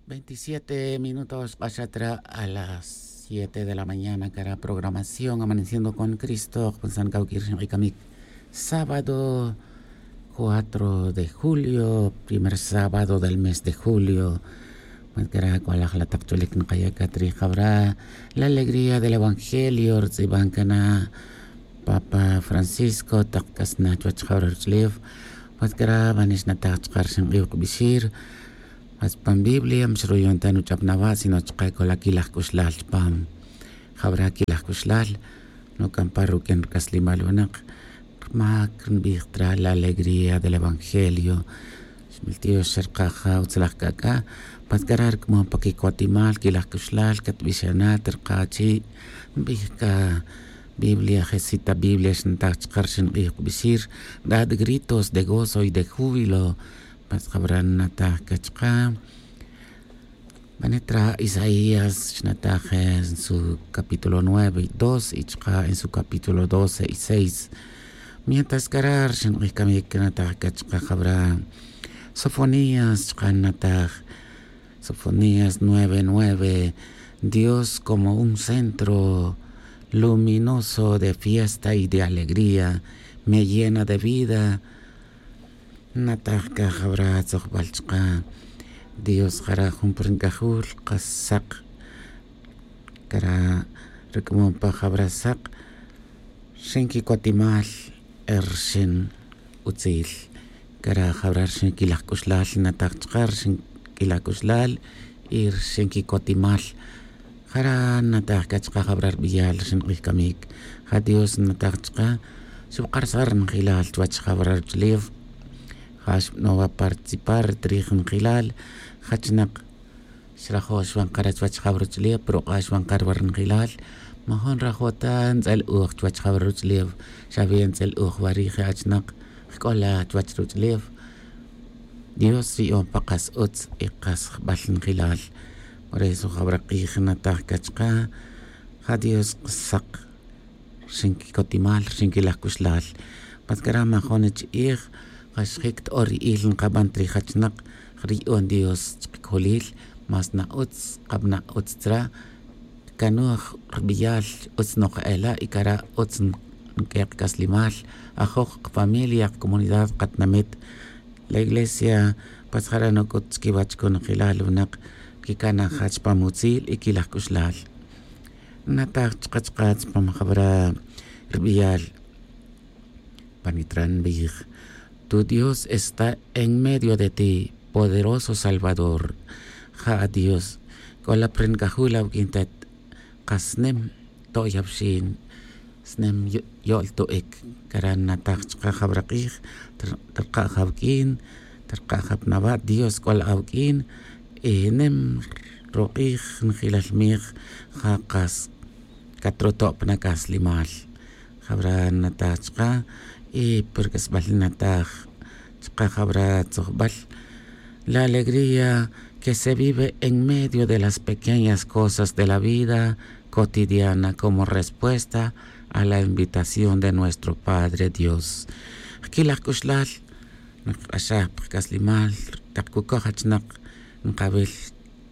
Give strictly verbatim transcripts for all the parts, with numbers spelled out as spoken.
Veintisiete minutos k'axat ra a las siete de la mañana cara programación amaneciendo con cristo k'axat kawk'ir xink'ik'amik. Sábado cuatro de julio, primer sábado del mes de julio. Pues cara k'o laj la taq ch'ulik nqaya' katrij jawra la alegría del evangelio rtz'iban kana papa francisco taq k'as na chuwach jawra ruch'ulef. Pues cara banix nataj chaqar xink'ij kbixir. Mas pan biblia mxruyon ta nuch'ap nawa' sino chaka' k'ola kilaj k'uxlal chpam. Jawra kilaj k'uxlal nuk'ampa ruq'uin rk'aslimal winak. Rmak nbij tra la alegría del evangelio. Xmiltiox xerkaja utzlaj k'ak'a. Patk'ara' rk'mon pa kikotimal kilaj k'uxlal katbixana terka' chi' nbij ka biblia jesita biblia xnataj chaka' rxin q'ij kbixir. Rat gritos de gozo y de júbilo. Patk'abra' nataj ka chaka'. Banitra isaías xnataj en su capítulo nueve y dos y chaka' en su capítulo doce y seis. Mientras kara' rxin q'ij kamik nataj ka chaka' jabra'. Sofonías chaka' nataj. Sofonías nueve nueve. Dios como un centro luminoso de fiesta y de alegría me llena de vida. Nataj ka jawra' tzojbal chaka' dios jara' jun pa ri nk'ajul qas saq. Kara' rik'amon pa jawra' saq rxin kikotimal. Rxin utzil kara' jawra' rxin kilaj k'uxlal nataj chaka' rxin kilaj k'uxlal y rxin kikotimal. Jara' nataj ka chaka' jawra' rbiyal rxin q'ij kamik. Ja dios nataj chaka' xubq'arsaj ri njilal chuwach jawra' ruch'ulef. Ja xbanowa participar ri trij njilal. Jachnak xrajo' xwan kara' chuwach jawra ruch'ulef pero k'a xwan kara' wa ri njilal. Majun rajo' ta ntz'el-uj chuwach jawra ruch'ulef. Xawi ntz'el-uj wa ri je' achnak jk'ola chuwach ruch'ulef. Dios ri'on pa qas utz y qas jbal njilal. Por eso jawra' q'ij nataj ka chaka' ja dios saq rxin kikotimal rxin kilaj k'uxlal. Patk'ara' majun chi'ij ja xjik to'or ri'il nkaban ta ri jachnak. Ri'on dios chkik'ulil mas na utz kabana' utz tzra'. Kanuj rbiyal utz noq ela' y kara' utz nk'e' qk'aslimal. Ajoj qfamilia qkomunidad qatinamit. La iglesia pues jara' nuk'ut chkiwach konojilal winak kikanaj jach pa mutzil y kilaj k'uxlal. Nataj chaka' chaka' chpam jawra' rbiyal. Panitra' nbij tu dios está en medio de ti poderoso salvador. Ja a dios k'ola pa ri nk'ajul awuk'in tet. Qas nim to'yawxin snem yo'l to'ik. Kara' nataj chaka' jawra' q'ij terka' jawuk'in terka' japnawa' dios k'ola awuk'in. Y nim ruq'ij njilal mij ja qas katroto' pa nak'aslimal. Jawra' nataj chaka' y pa rk'asbal nataj chaka' jawra' tzojbal. La alegría que se vive en medio de las pequeñas cosas de la vida cotidiana como respuesta a la invitación de nuestro padre dios. Jkilaj k'uxlal nqq'axaj pa qk'aslimal taq kukoj achnak nqawil.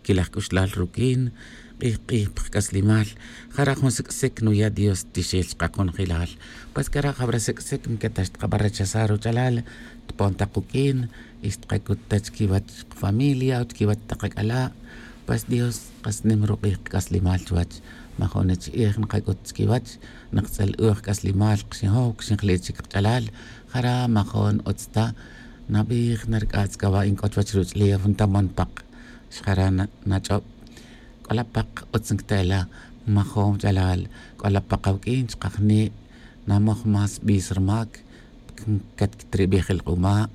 Kilaj k'uxlal ruk'in q'ij q'ij pa qk'aslimal. Jara' jun sik' sik nuya' dios tixil chaka' konojilal. Pues kara' jawra' sik' sik nketa xtqaba rechazar ruch'alal tpon taq quk'in y xtqakut ta chkiwach qfamilia o chkiwach taq ak'ala'. Pues dios qas nim ruq'ij qk'aslimal chuwach. Majun chi'ij nqak'ut chkiwach naqtz'el-uj k'aslimal qxijow kxinjli' chik qch'alal. Jara' majun utz ta nabij nark'atz' k'a wa' ink'o chuwach ruch'ulef ntamon paq. Xjara' nach'ob k'ola paq utz nkta ela'. Majun ch'alal k'ola paq awuk'in chaka' jni' namoj más b'is rmak. Katkitrib'ij ilq'uma'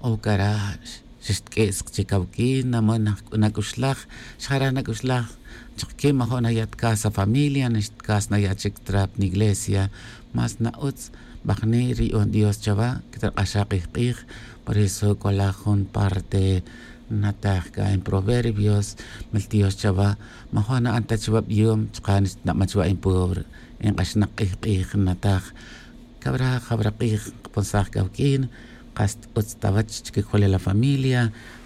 o kara' xixtk'i' sqchik awuk'in namon nak'uxlaj. Xjara' nak'uxlaj chaka' ki' majun naya' tkas afamilia nixtkas naya' chik trap niglesia. Más na utz b'ajni' ri'on dios chawa' kitraq'axaj q'ij q'ij. Por eso k'ola jun parte nataj k'a en proverbios. Miltiox chawa' majun na'an ta chawa' b'iyom chaka' nixtnab'an chawa' en pobre en q'axnaq q'ij q'ij nataj. Kawra' jawra' q'ij nqponsaj k'a wuk'in Kas utz ta wach chike jolel la familia.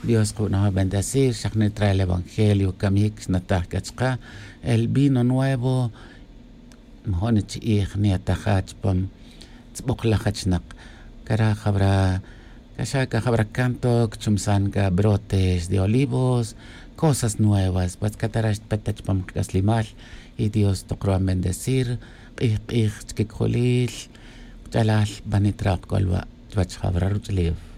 Dios kub'anoj bendecir xaq nitrae el evangelio kamik xnataj k'a chaqe. El vino nuevo majo' nichi'ij niataja chupam tz'b'oqlaj achnaq. Kara' jab'ra k'axa' k'a jab'ra canto kchumsan k'a brotes de olivos, cosas nuevas. Pues katara' xtpet ta chupam qak'aslemal. Y dios toq ru'an bendecir q'ij q'ij chike kojolil. Qach'alal b'anit ra' qk'olwa' chuwach jab'ra ruch'ulef.